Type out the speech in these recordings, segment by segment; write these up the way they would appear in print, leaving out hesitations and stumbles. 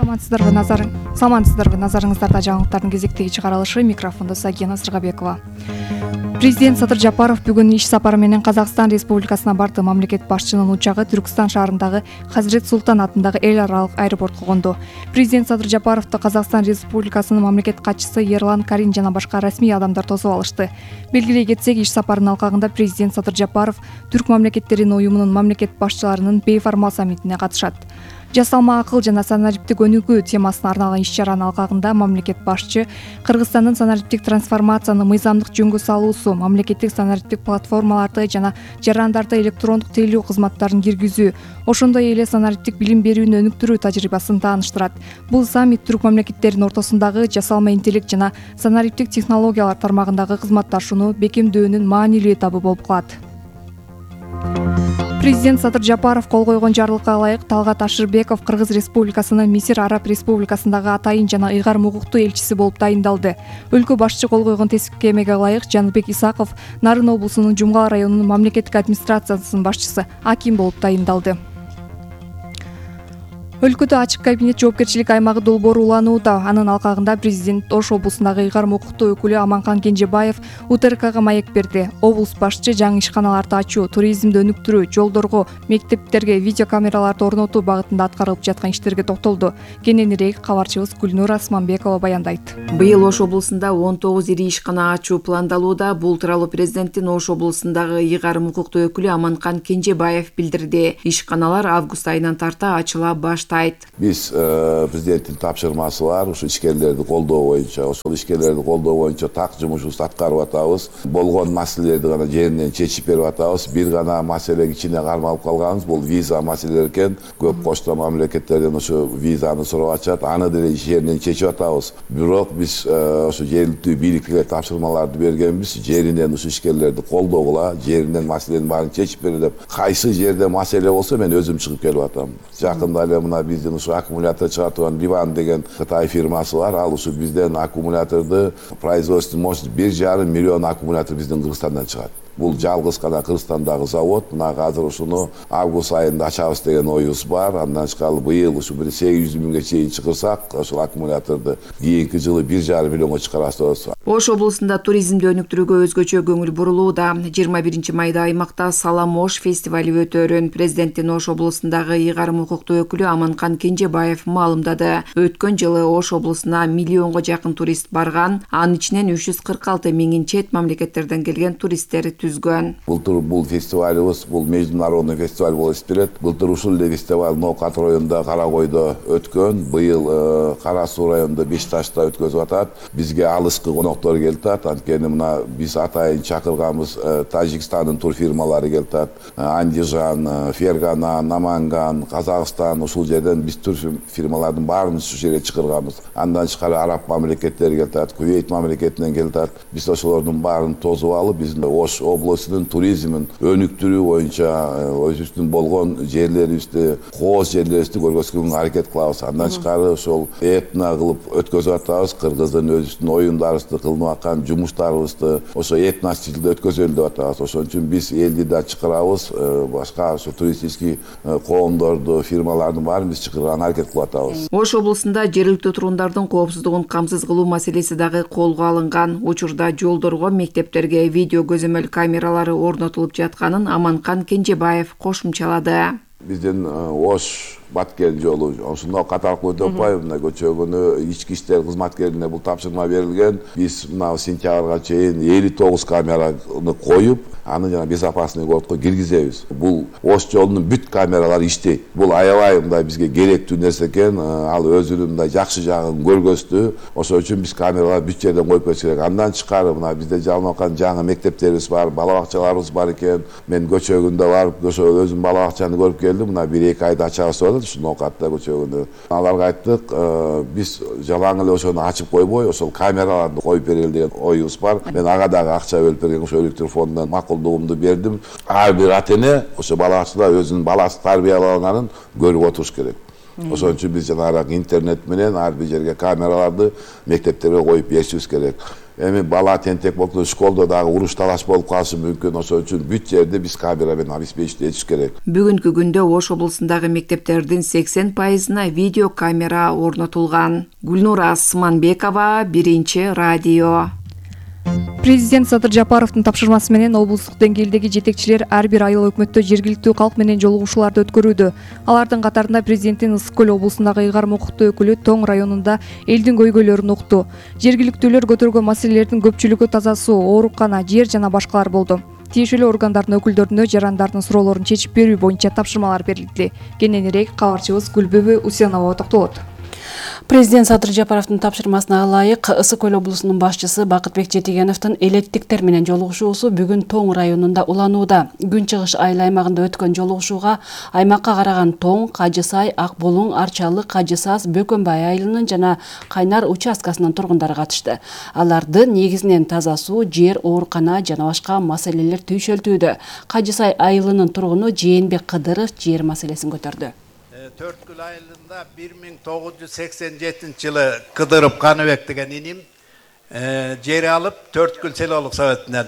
Саламатсыздарбы назарыңыздарда жаңылыктардын кезектеги чыгарылышы, микрофондо Сагина Сыргабекова. Президент Садыр Жапаров бүгүн иш сапары менен Казакстан Республикасына барды. Мамлекет башчынын учагы Түркстан шаарындагы Хазирет Султан атындагы эл аралык аэропортко конду. Президент Садыр Жапаровду Казакстан Республикасынын мамлекет катчысы Ерлан Карин жана башка расмий адамдар тосуп алышты. Белгилей кетсек, иш сапарынын алкагында президент Садыр Жапаров Түрк мамлекеттеринин уюмунун мамлекет башчыларынын бейформал саммитине катышат. Жасалма акыл жана санариптик өнүгүү темасына арналган иш-чаранын алкагында мамлекет башчы Кыргызстандын санариптик трансформацияны мыйзамдык жөнгө салуусу, мамлекеттик санариптик платформаларды жана жарандарды электрондук тейлөө кызматтарын киргизүү, ошондой эле санариптик билим берүүнү өнүктүрүү тажрыйбасын тааныштырат. Бул саммит түрк мамлекеттеринин ортосундагы жасалма интеллект жана санариптик технологиялар тармагындагы кызматташууну бекемдөөнүн маанилүү этабы болуп калат. Президент Садыр Жапаров кол койгон жарлыкка ылайык Талгат Ашырбеков Кыргыз Республикасынын Мисир Араб Республикасындагы атайын жана ыйгарым укуктуу элчиси болуп тайындалды. Өлкө башчы кол койгон тескемеге ылайык Жаныбек Исаков Нарын облусунун Жумгал районунун мамлекеттик администрациясынын башчысы аким болуп тайындалды. Өлкөдө ачык кабинет жоопкерчилик аймагы долбоору уланууда. Анын алкагында президент Ош облусундагы ыйгарым укуктуу өкүлү Аманкан Кенжебаев УТРКга маек берди. Облус башчы жаңы ишканаларды ачуу, туризмди өнүктүрүү, жолдорго, мектептерге видеокамераларды орнотуу багытында аткарылып жаткан иштерге токтолду. Кененирээк кабарчыбыз Гүлнур Асманбекова баяндайт. Быйыл Ош облусунда 19 ири ишкана ачуу пландалууда. Бул тууралуу президенттин Ош облусундагы ыйгарым укуктуу өкүлү Аманкан Кенжебаев билдирди. Ишканалар август айынан тарта ачыла баштайт. Биз президенттин тапшырмасы бар, ушу ишкерлерди колдоо боюнча, ошол ишкерлерди колдоо боюнча так жумушубузду аткарып атабыз. Болгон маселелерди гана жеринен чечип берип атабыз. Бир гана маселе кичине кармалып калганбыз, бул виза маселелери экен. Көп кошто мамлекеттерден ушу визаны сурап атышат, аны деле жеринен чечип атабыз. Бирок биз ошо жергиликтүү бийликке тапшырмаларды бергенбиз, жеринен ушу ишкерлерди колдогула, жеринен маселенин баарын чечип бере деп. Кайсы жерде маселе болсо мен өзүм чыгып келип атам. Жакында эле мына биздин ушу аккумулятор чыгартып Ливан деген Кытай фирмасы бар. Ал ушу бизден аккумуляторду производственный мощность 1,5 миллион аккумулятор биздин Кыргызстандан чыгат. Бул жалгыз гана Кыргызстандагы завод. Мына азыр ушуну август айында ачабыз деген оюбуз бар. Андан тышкары быйыл ушу 800 миңге чейин чыгырсак, ошол аккумуляторду кийинки жылы 1,5 миллионго чыгарабыз. Ош облусунда туризмди өнүктүрүүгө өзгөчө көңүл бурулууда. 21 майда аймакта Салам Ош фестивали өтөөрүн президенттин Ош облусундагы ыйгарым укуктуу өкүлү Аманкан Кенжебаев маалымдады. Өткөн жылы Ош облусуна миллионго жакын турист барган, анын ичинен 346 миңин чет мамлекеттерден келген туристтер түзгөн. Былтыр бул фестивалыбыз, бул международный фестиваль болуп эсептелет. Былтыр ушул эле фестиваль Ноокат районунда Каракойдо өткөн, быйыл Кара Суу районунда Бешташта өткөзүп атат. Бизге алыскы коноктор келип атат. Анткени мына биз атайын чакырганбыз Тажикстандын тур фирмалары келип атат. Андижан, Фергана, Наманган, Казакстан, ушул жерден биз тур фирмалардын баарын ушу жерге чакырганбыз. Андан тышкары араб мамлекеттери келип атат, Кувейт мамлекетинен келип атат. Биз ошолордун баарын тосуп алып, биздин Ош облусунун туризмин өнүктүрүү боюнча өзүбүздүн болгон жерлерибизди, кооз жерлерибизди көргөзгөнгө аракет кылабыз. Андан тышкары ошол этно кылып өткөзүп атабыз. Кыргыздын өзүбүздүн оюндарыбызды, кылынып аткан жумуштарыбызды ошо этно стилде өткөзөлү деп атабыз. Ошон үчүн биз элди да чакырабыз, башка ошо туристический коомдорду, фирмалардын баарын биз чакырганга аракет кылып атабыз. Ош облусунда жергиликтүү тургундардын коопсуздугун камсыз кылуу маселеси дагы колго алынган. Учурда жолдорго, мектептерге видео көзөмөл камералары орнотулуп жатканын Аманкан Кенжебаев кошумчалады. Биздин Ош Баткен жолу ошондо катаркы өтүп атпайбы, мына көчөгөнү ички иштер кызматкерине бул тапшырма берилген. Биз мына сентябрга чейин 59 камераны коюп, аны жана безопасный городко киргизебиз. Бул Ош жолунун бүт камералары иштейт. Бул аябай мындай бизге керектүү нерсе экен. Ал өзүнүн мындай жакшы жагын көргөздү. Ошол үчүн биз камераларды бүт жерден коюп койсок керек. Андан тышкары мына бизде жалынып аткан жаңы мектептерибиз бар, бала бакчаларыбыз бар экен. Мен көчөгүндө барып, ошо өзүм бала бакчаны көрүп келдим. Мына 1-2 айда ачабыз деп ушу Ноокатта көчөгүндө. Аларга айттык, биз жалаң эле ошону ачып койбой, ошол камераларды коюп берели деген оюбуз бар. Мен ага дагы акча бөлүп берген, ошо электр фондунан макулдугумду бердим. Ар бир ата эне ошо бала бакчада өзүнүн баласы тарбияланганын көрүп отуруш керек. Ошон үчүн биз жанагы интернет менен ар бир жерге камераларды мектептерге коюп беришибиз керек. Эми бала тентек болсо школдо дагы уруш талаш болуп калышы мүмкүн. Ошол үчүн бүт жерде биз камера менен обеспечить керек. Бүгүнкү күндө Ош облусундагы мектептердин 80%на видео камера орнотулган. Гүлнура Асманбекова, Биринчи радио. Президент Садыр Жапаровдун тапшырмасы менен облустук деңгээлдеги жетекчилер ар бир айыл өкмөттө жергиликтүү калк менен жолугушууларды өткөрүүдө. Алардын катарында президенттин Ысык көл облусундагы ыйгарым укуктуу өкүлү Тоң районунда элдин көйгөйлөрүн укту. Жергиликтүүлөр көтөргөн маселелердин көпчүлүгү таза суу, оорукана, жер жана башкалар болду. Тиешелүү органдардын өкүлдөрүнө жарандардын суроолорун чечип берүү боюнча тапшырмалар берилди. Кененирээк кабарчыбыз Гүлбүбү Усенова токтолот. Президент Садыр Жапаровдун тапшырмасына ылайык Ысык көл облусунун башчысы Бакытбек Жетигеновдун элеттиктер менен жолугушуусу бүгүн Тоң районунда уланууда. Күн чыгыш айыл аймагында өткөн жолугушууга аймакка караган Тоң, Кажы Сай, Ак Булуң, Арчалы, Кажы Саз, Бөкөнбай айылынын жана Кайнар участкасынын тургундары катышты. Аларды негизинен таза суу, жер, оорукана жана башка маселелер түйшөлтүүдө. Кажы Сай айылынын тургуну Жээнбек Кыдыров жер маселесин көтөрдү. Төрткүл айылында 1987 жылы Кыдыров Каныбек деген иним жер алып, Төрткүл селолук советинен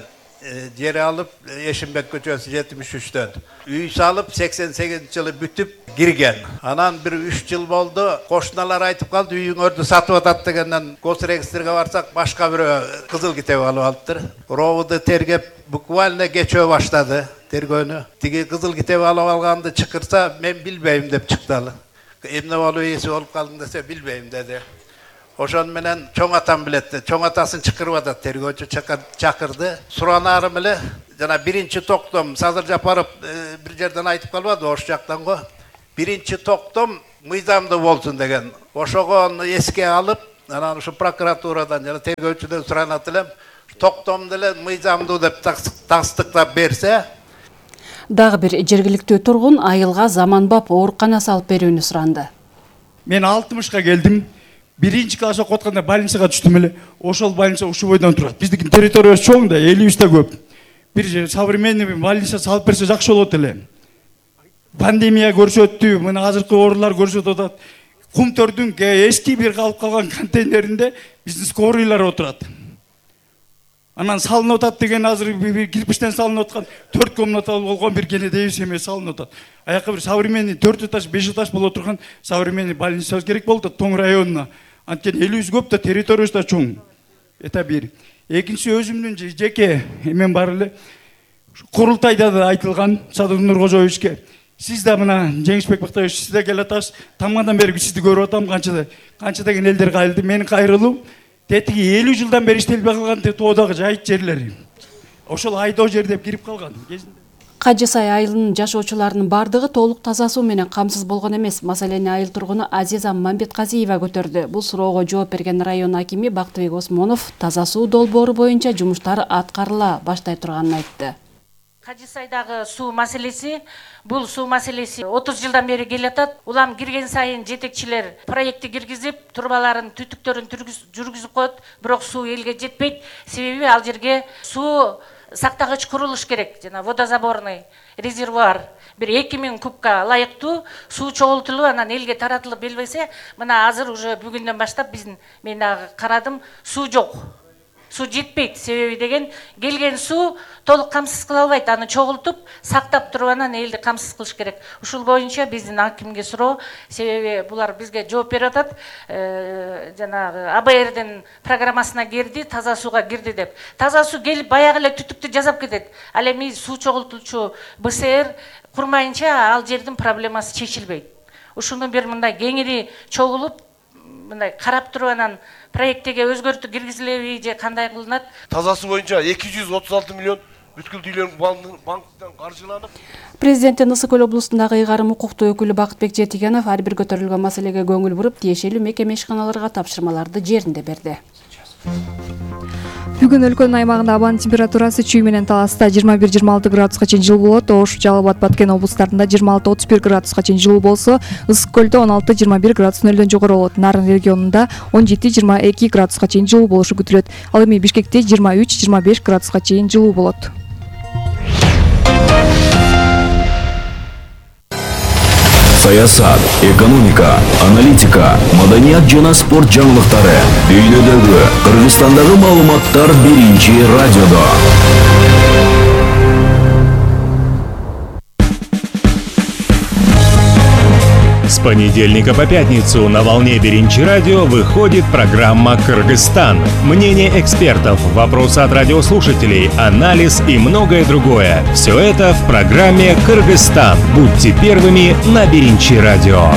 жер алып, Эшимбек көчөсү 73-төн. Үй салып 88 жылы бүтүп кирген. Анан бир 3 жыл болду, кошуналар айтып калды, үйүңөрдү сатып атат дегенден госрегистрге барсак, башка бирөө кызыл китеп алып алыптыр. Ровуду тергеп, буквально кечөө баштады тергөөнү. Тиги кызыл китеп алып алганды чакырса, мен билбейм деп чыкталы. Эмне болуп эси болуп калдың десе, билбейм деди. Ошон менен чоң атам билет. Чоң атасын чакырып атат, тергөөчү чакырды. Суранарым эле жана биринчи токтом Садыр Жапаров бир жерден айтып калбады, ош жактан го. Биринчи токтом мыйзамдуу болсун деген. Ошого эске алып, анан ушу прокуратурадан жана тергөөчүдөн суранат элем. Токтомду эле мыйзамдуу деп тастыктап берсе, дагы бир жергиликтүү тургун айылга заманбап оорукана салып берүүнү суранды. Мен 60-ка келдим. Биринчи класс окуп атканда больницага түштүм эле. Ошол больница ушул бойдон турат. Биздин территориябыз чоң да, 50-та көп. Бир современный больница салып берсе жакшы болот эле. Пандемия көрсөттү, мына азыркы оорулар көрсөтүп атат. Кумтөрдүн эски бир калып калган контейнеринде биздин скорийлар отурат. Анан салынып атат деген азыр бир кирпичтен салынып аткан 4 комнаталуу болгон бир кенедейбиз эмес салынып атат. Аякка бир современный 4 этаж, 5 этаж боло турган современный больницабыз керек болду Тоң районуна. Анткени элибиз көп да, территориябыз да чоң. Это бир. Экинчи өзүмдүн жеке эмен бар эле. Курултайда да айтылган Садыр Нуркожоевичке. Сиз да мына Жеңишбек Бактаевич, сиз да келип атасыз. Тамадан бери сизди көрүп атам, канча деген элдер кайрылды. Мени кайрылуу тетиги 50 жылдан бери иштелбей калган тоодагы жайыт жерлери. Ошол айдоо жер деп кирип калган кезинде. Кажы Сай айылынын жашоочуларынын бардыгы толук таза суу менен камсыз болгон эмес. Маселени айыл тургуну Азиза Мамбетказиева көтөрдү. Бул суроого жооп берген район акими Бактыбек Осмонов таза суу долбоору боюнча жумуштар аткарыла баштай турганын айтты. Кажы Сайдагы суу маселеси, бул суу маселеси 30 жылдан бери келатат. Улам кирген сайын жетекчилер проектти киргизип, турбаларын, түтүктөрүн жүргүзүп коет, бирок суу элге жетпейт. Себеби ал жерге суу сактагыч курулуш керек, жана водозаборный резервуар бир 2000 кубка ылайыктуу суу чогултулуп, анан элге таратылып берилбесе, мына азыр уже бүгүндөн баштап мен дагы карадым, суу жок. Суу жетпейт, себеби деген келген суу толук камсыз кыла албайт, аны чогултуп, сактап туруп анан элди камсыз кылыш керек. Ушул боюнча биздин акимге суроо, себеби булар бизге жооп берип атат. Жанагы АБРдин программасына кирди, таза сууга кирди деп. Таза суу келип баягы эле түтүктү жасап кетет. Ал эми суу чогултуучу БСР курмайынча ал жердин проблемасы чечилбейт. Ушуну бир мындай кеңири чогулуп, мындай карап туруп анан проекттеге өзгөртүү киргизилеби же кандай кылынат? Таза суу боюнча 236 миллион бүткүл үйлөр банктан каржыланып. Президенттин Ысык көл облусундагы ыйгарым укуктуу өкүлү Бакытбек Жетигенов ар бир көтөрүлгөн маселеге көңүл буруп, тиешелүү мекеме ишканаларга тапшырмаларды жеринде берди. Бүгүн өлкөнүн аймагында абанын температурасы чүй менен Таласта 21-26 градуска чейин жылуу болот. Ош, Жалал Абад, Баткен облустарында 26-31 градуска чейин жылуу болсо, Ысык көлдө 16-21 градус нөлдөн жогору болот. Нарын регионунда 17-22 градуска чейин жылуу болушу күтүлөт. Ал эми Бишкекте 23-25 градуска чейин жылуу болот. саясат, экономика, аналитика, маданият жана спорт жаңылыктары, дүйнөдөгү, Кыргызстандагы маалыматтар биринчи радиодо. С понедельника по пятницу на волне Биринчи радио выходит программа «Кыргызстан». Мнение экспертов, вопросы от радиослушателей, анализ и многое другое. Все это в программе «Кыргызстан». Будьте первыми на Биринчи радио.